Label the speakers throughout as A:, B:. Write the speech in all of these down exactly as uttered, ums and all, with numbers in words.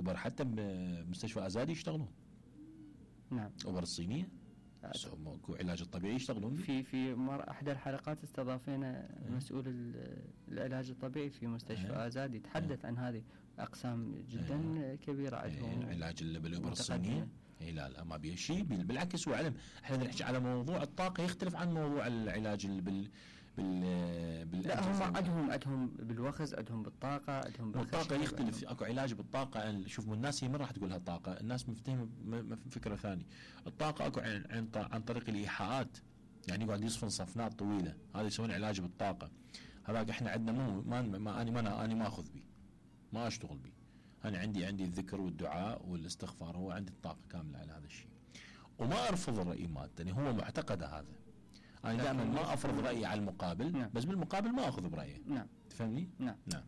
A: الابر حتى بمستشفى ازادي يشتغلون.
B: نعم.
A: الابر الصينيه اكو علاج الطبيعي يشتغلون
B: في في مر احدى الحلقات استضافينا مسؤول العلاج الطبيعي في مستشفى أه. ازادي تحدث أه. عن هذه اقسام جدا أه. كبيره عندهم.
A: أه. العلاج بالابر الصينيه اي لا لا ما بيه شيء، بالعكس هو علم. احنا نحكي على موضوع الطاقه يختلف عن موضوع العلاج بال بال
B: لا هم عندهم عندهم بالوخز، عندهم بالطاقه، عندهم
A: بالطاقه يختلف. اكو علاج بالطاقه. شوف الناس هي من راح تقول لها طاقه، الناس مفتهمه فكره ثانيه. الطاقه اكو عن عن طريق الايحاءات، يعني يقعد يصفن صفنات طويله، هذا يسوون علاج بالطاقه. هذاك احنا عندنا مو ما, ما انا ما انا ما اخذ بي، ما اشتغل بي. انا عندي عندي الذكر والدعاء والاستغفار، هو عندي الطاقه كامله على هذا الشيء. وما ارفض الراي مالتني، هو معتقده هذا. انا دائما ما افرض رايي على المقابل. نعم. بس بالمقابل ما اخذ برايه.
B: نعم.
A: تفهمني؟
B: نعم.
A: نعم.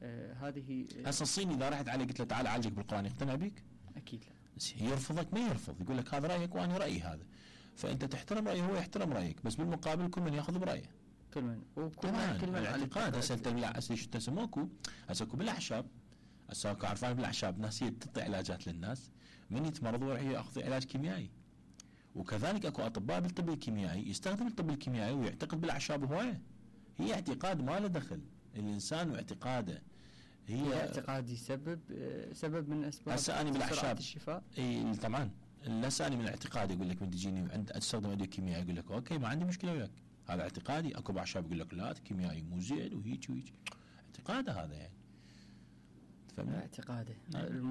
B: آه هذه
A: هسه الصيني اذا رحت عليه قلت له تعال اعالجك بالقران يقتنع بيك؟
B: اكيد لا.
A: يرفضك ما يرفض، يقول لك هذا رايك وانا رايي هذا. فانت تحترم رايه هو يحترم رايك، بس بالمقابل كل من ياخذ برايه.
B: كل من
A: وكل من كل من الاعتقاد. هسه انت هسه شو تسموكو؟ هسه اكو بالاعشاب، هسه اكو عارفين بالاعشاب ناس هي تعطي علاجات للناس، من يتمرضوا راح ياخذ علاج كيميائي. وكذلك اكو اطباء بالطب الكيميائي يستخدم الطب الكيميائي ويعتقد بالاعشاب هوايه. هي اعتقاد ما له دخل الانسان واعتقاده. هي
B: اعتقاد يسبب سبب من اسباب
A: هسه انا بالاعشاب
B: الشفاء.
A: اي طبعا. هسه انا من الاعتقاد يقول لك من تجيني عند استخدم ادويه كيميائيه يقول لك اوكي ما عندي مشكله وياك، هذا اعتقادي. اكو باعشاب يقول لك لا كيميائي مو زين وهيك وهيك، اعتقاده هذا يعني.
B: تفهمني؟ اعتقاده.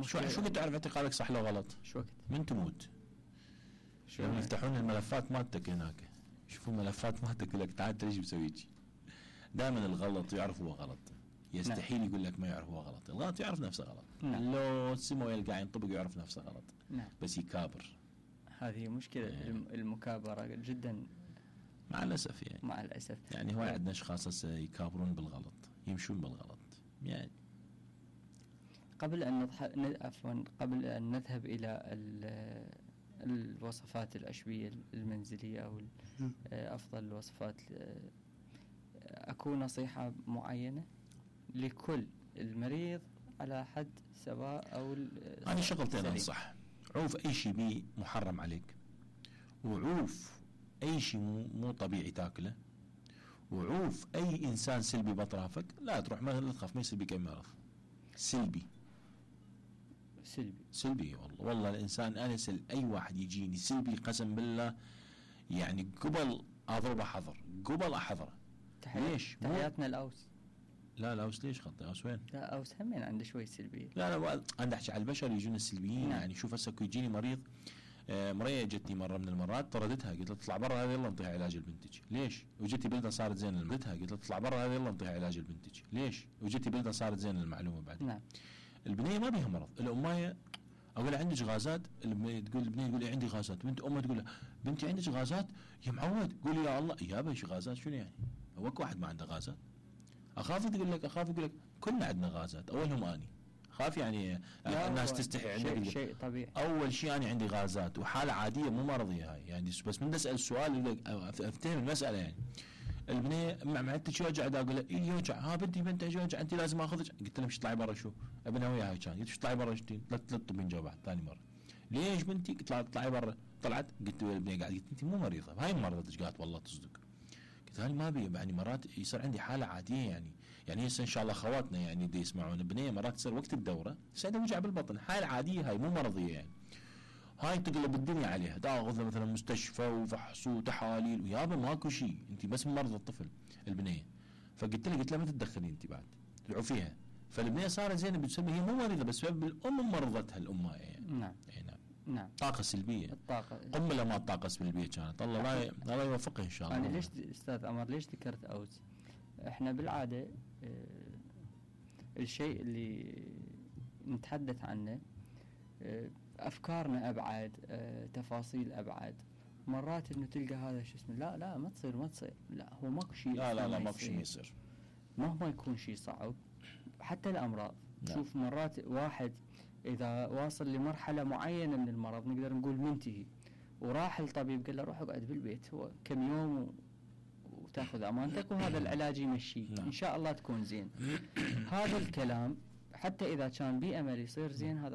A: شو شو قد تعرف اعتقادك صح لو غلط؟
B: شو وقت؟
A: من تموت. شو يعني يفتحون الملفات مالتك هناك، يشوفوا الملفات مالتك يقول لك تعال انت ليش مسوي شيء؟ دائما الغلط يعرف هو غلط، يستحيل نعم. يقول لك ما يعرف هو غلط، الغلط يعرف نفسه غلط.
B: نعم.
A: لو سمو يلقى ينطبق يعرف نفسه غلط.
B: نعم.
A: بس يكابر.
B: هذه مشكلة نعم. المكابرة جدا
A: مع الأسف يعني.
B: مع الأسف
A: يعني هو عندنا أشخاص يكابرون بالغلط، يمشون بالغلط يعني.
B: قبل أن نضح... عفوا قبل أن نذهب إلى ال... الوصفات العشبية المنزلية أو أفضل الوصفات، أكو نصيحة معينة لكل المريض على حد سواء أو
A: أنا شغلتين أنصح. عوف أي شيء بي محرم عليك، وعوف أي شيء مو, مو طبيعي تاكله، وعوف أي إنسان سلبي بأطرافك. لا تروح ما تخاف ما يصير بك أي مرض سلبي.
B: سلبي
A: سلبي والله والله الإنسان أنا سل أي واحد يجيني سلبي قسم بالله يعني قبل أضربه حظر، قبل أحضره.
B: ليش؟ تحياتنا الأوس.
A: لا لا أوس ليش خطي؟ أوس وين؟
B: لا أوس همين عنده شوي سلبية.
A: لا لا أنا أحكي على البشر يجون السلبيين.
B: نعم.
A: يعني شوف هسه يجيني مريض، آه مريض جتني مرة من المرات طردتها، قلت له تطلع برا هذه يلا نعطيها علاج لبنتك. ليش؟ وجتي بلدة صارت زين لبنتها، قلت له تطلع برا هذه يلا نعطيها علاج لبنتك. ليش؟ وجتي بلدة صارت زين المعلومة بعد.
B: نعم.
A: البنية ما بيها مرض، الأماية أقول عندك غازات، تقول البنية تقول عندي غازات، بنت أمها تقول بنتي عندك غازات يا معود، قولي يا الله يا بيش غازات شنو يعني؟ هو واحد ما عنده غازات؟ أخاف تقول لك أخاف يقول لك كلنا عندنا غازات، أولهم أني خاف يعني الناس تستحي عندي.
B: شيء طبيعي.
A: أول شيء أنا عندي غازات وحالة عادية مو مرضية هاي يعني، بس من أسأل السؤال أفتهم المسألة يعني. البنية معدتك يوجع، دا أقول لها إيه يوجع؟ ها بنتي بنتي يوجع أنت لازم أخذك. قلت لها مش طلعي برا. شو ابنها وياها كان قلت طلعي برا شتين ثلاث ثلاث طبين جواب ثاني مرة. ليش بنتي؟ قلت لها طلعي برا. طلعت قلت البنية قاعد قلت أنت مو مريضة هاي مرضتك. قالت والله تصدق. قلت هاني ما بي يعني مرات يصير عندي حالة عادية يعني يعني هسه إن شاء الله خواتنا يعني دي يسمعون البنية مرات تصير وقت الدورة يصير وجع بالبطن، حالة عادية هاي مو مرضية يعني. هاي تقلب الدنيا عليها، تاخذ مثلا مستشفى وفحص وتحاليل ويابا ماكو شيء، انت بس مرضى الطفل البنيه. فقلت لها قلت لها ما تتدخلي انت بعد تدعو فيها. فالبنيه صارت زينه بتسمي هي مو مريضه بس سبب الام مرضتها الام يعني.
B: نعم.
A: اي نعم.
B: نعم.
A: طاقه سلبيه.
B: الطاقه
A: قنبله ما طاقه سلبيه كانت. الله لا الله يوفقها ان شاء الله.
B: انا ليش استاذ عمر ليش ذكرت اوز؟ احنا بالعاده اه الشيء اللي نتحدث عنه اه أفكارنا أبعد، أه، تفاصيل أبعد. مرات إنه تلقى هذا شو اسمه لا لا ما تصير ما تصير لا هو ماكو شيء.
A: لا لا لا ماكو شيء يصير
B: مهما يكون شيء صعب. حتى الأمراض
A: لا.
B: شوف مرات واحد إذا واصل لمرحلة معينة من المرض نقدر نقول منتهي وراح الطبيب قال له روح اقعد بالبيت هو كم يوم و... وتاخذ أمانتك وهذا العلاج يمشي إن شاء الله تكون زين. هذا الكلام حتى إذا كان بأمل يصير زين هذا